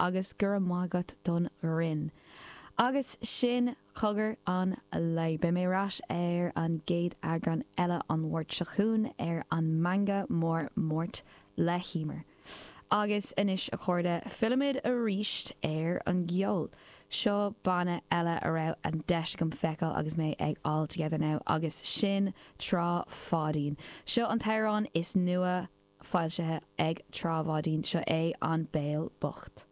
agus go raibh maith agat don ghreann. Agus sin cogar an lae. Beidh mé ar ais ar an gcéad eagrán eile an Mháirt seo chugainn ar an Meangadh Mór Máirt le hEmer. Agus anois a chairde, fillimid arís ar an gceol. Seo banna eile a raibh an deis agam feiceáil agus mé ag All Together Now agus sin Trá Pháidín. Seo an t-amhrán is nua foilsithe ag Trá Pháidín, seo é An Béal Bocht.